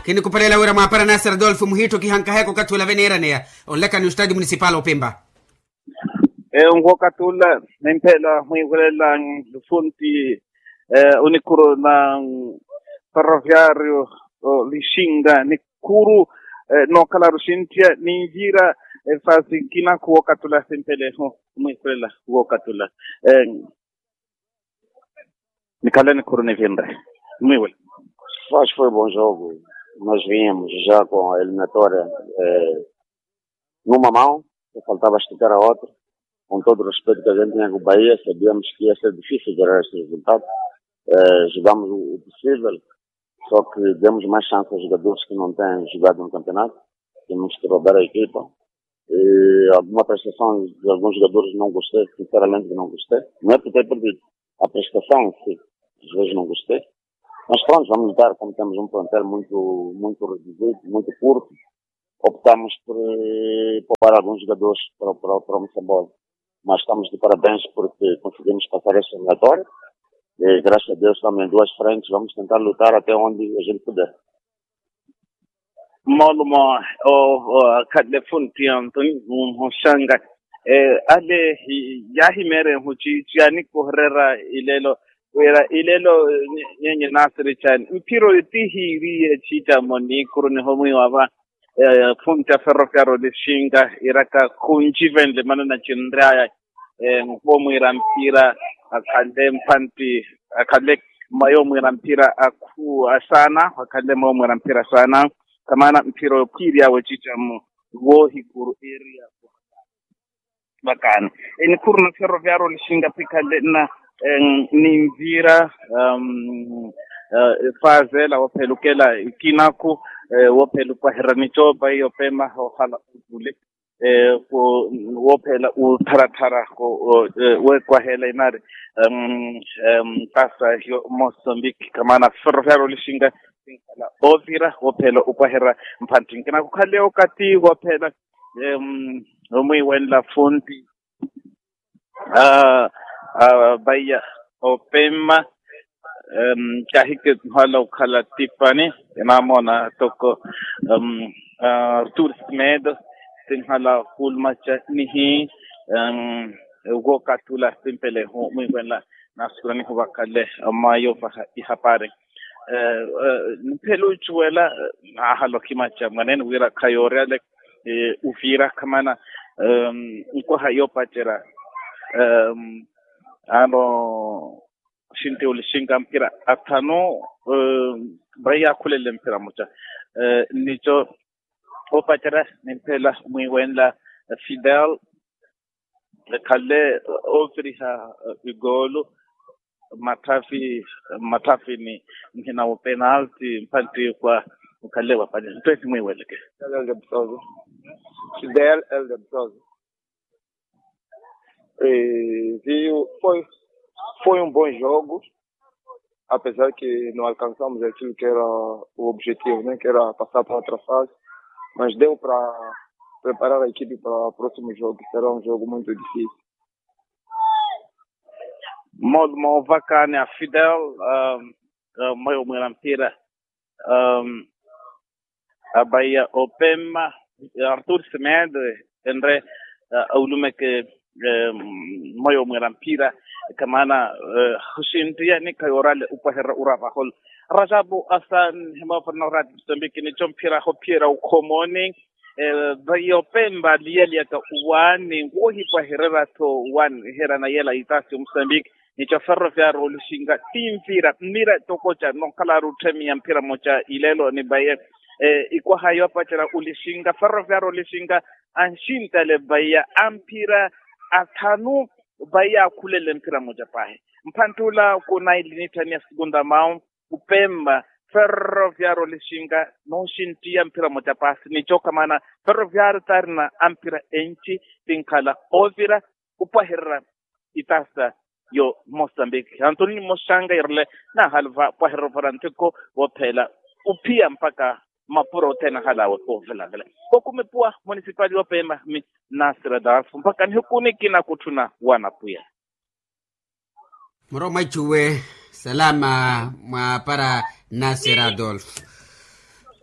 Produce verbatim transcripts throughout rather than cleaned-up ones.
Khinikhupelela wira mwaapara nasir adolfo muhiittho kihankaheeka okathi ula veneeraneya onlekani ostadio municipal opempa. Eyo nkhokathi ula nimphela mwiivelela nlufunti onikhuru na ferroviario lixinga nikhuru nookhala ruxintiya ninvira efasi kinakhu wookathi ula simphelehu mwiivelela wookathi ula. Nikhale nikhuru nivinre mwiwela. Faz foi bom jogo. Nós vínhamos já com a eliminatória numa mão, só faltava esticar a outra. Com todo o respeito que a gente tinha com o Bahia, sabíamos que ia ser difícil gerar esse resultado. Jogamos o possível, só que demos mais chance aos jogadores que não têm jogado no campeonato. Temos que rodar a equipa. Alguma prestação de alguns jogadores não gostei, sinceramente que não gostei. Não é por ter perdido. A prestação em si, às vezes não gostei. Mas pronto, vamos lutar, como temos um plantel muito, muito reduzido, muito curto, optamos por poupar alguns jogadores para, para, para o Moçambola. Mas estamos de parabéns porque conseguimos passar essa eliminatória. E graças a Deus estamos em duas frentes, vamos tentar lutar até onde a gente puder. Moolumo okhale funti anthony muhoxanga ale yaahimeerehu ciici yaanikohererya ileelo wira ileelo nyenye naasiri caani mphiro ti hiiriye ciicamo niikuru nihomwiiwa va funti a ferroviario lixinga iraka khuncivenle manana cinryaya. Nkhuwo mwiira mpira akhale mphantti akhale mwayo mwiira mpira akhu asaana akhale mwayo mwiira mpira asaana. Kamaana mphira okhwiirya wecica mu woohikuru area vakaani. Enikhuru na ferroviario lixinga phikhale na ninvira faazeela woophelukela ikinaku woophelukwaherya nicoopa iyo pema ohala ovule woophela utharathara weekwaheela inaari mpasa yo mosambiki kamaana ferroviario lixinga. Ovira woophela ukwaherya mphantti nkina khukhale okathi woophela omwiiwenla funti. Vaiya opema kahike nhala okhala tipani enamona toko artur smed tinhala hulmaca nihi. Wookathi ula simpelehu mwiiwenla naasukula nihuvakhale mwayo vaha ihapari. Niphele ocuwela naahala okhimaca mwanene wira khayoorya ale uvira khamana nkwaha yoopacerya ano xinti olixinka mpira athanu. Vaiya akhulele mpira muca nico oopacerya nimphela mwiiwenla fidel ekhale ooviriha igoolu mmatthafi mmatthafi ni nhina wo penalti mphantti kwa okhale wapali ntwehi mwiiweleke. Fidel elde mtozo. Foi foi um bom jogo. Apesar que não alcançamos aquilo que era o objetivo né que era passar para outra fase, mas deu para preparar a equipe para o próximo jogo que será um jogo muito difícil. Moolumo ovakaani a fidel mwayo mwiira mpira. Abaiya opema artur semed enre aulumeke mwayo mwiira mpira. Kamaana oxintiya nikhayoorale upwaherya ura vaholo rajabu asan himwayo forna orati musambiki nico mphira hophiyerya ukhomoni. Vaiya opemba liyaliyaka uwaani woohipwahererya-tho uwaani iherana yela itasi omosambiki nico ferroviario olixinka tinvira mmira tokoca nookhalari otthemiya mphira moca ileelo ni vaiya ikwaha yoopacerya olixinka ferroviario olixinka anxintale vaiya amphira athanu. Vaiya akhulele mphira moca paahi mphantt'ula kunaili nitthaniya sikunta mawu opemba ferroviario olixinka nooxinttiya mphira moca paasi nico kamaana ferroviario taarina amphira enci tinkhala oovira opwahererya itasa yo mosambiki anthoni nimoxanga irile nahaluva pwahererya opara nthiko woophela ophiya mpakha mapuro othene ahalawe oovelaavela. Kokumipuwa munisipali woopeema mi nasir adolfo mpakha nihiku nikina kutthuna wanapwiya. Muro mwacuwe salama mwaapara nasir adolfo.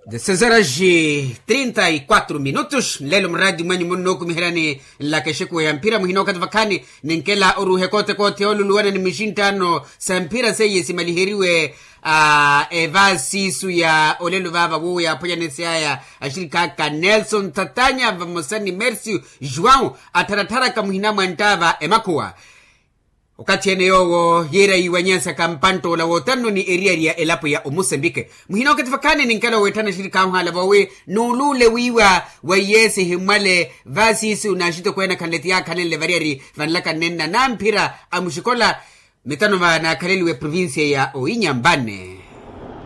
Dezesseis horas e trinta e quatro minutos nlelo muraati mwanyu munnookumiheryani nlaka exekuwa ya mphira muhina okathi vakhaani. Ninkela oruuha ekoote koote yooluluwana ni mixinttaano sa mphira seiye simaliheriwe a evaasiisu ya olelo vaava woowo yaaphwanyanesyaya axirikhaaka nelson thatanya vamosa ni mercio joão attharattharaka muhina mwa nttaava emakhuwa. Okathi ene yoowo yiira yiiwanyeesaka mpanttoola wootanno ni eriyari ya elapo ya omosambike muhina okathi vakhaani ninkela oweetthana axirikhaaka ohaala voowi nuuluule wiiwa wa iyeesi himmwale vaasiisu n'axitokweene akhanle ti yaakhanenle variyari vanlaka nnenna namphira a muxikola. Mitano vanaakhaleliwe provincia ya oinyambane.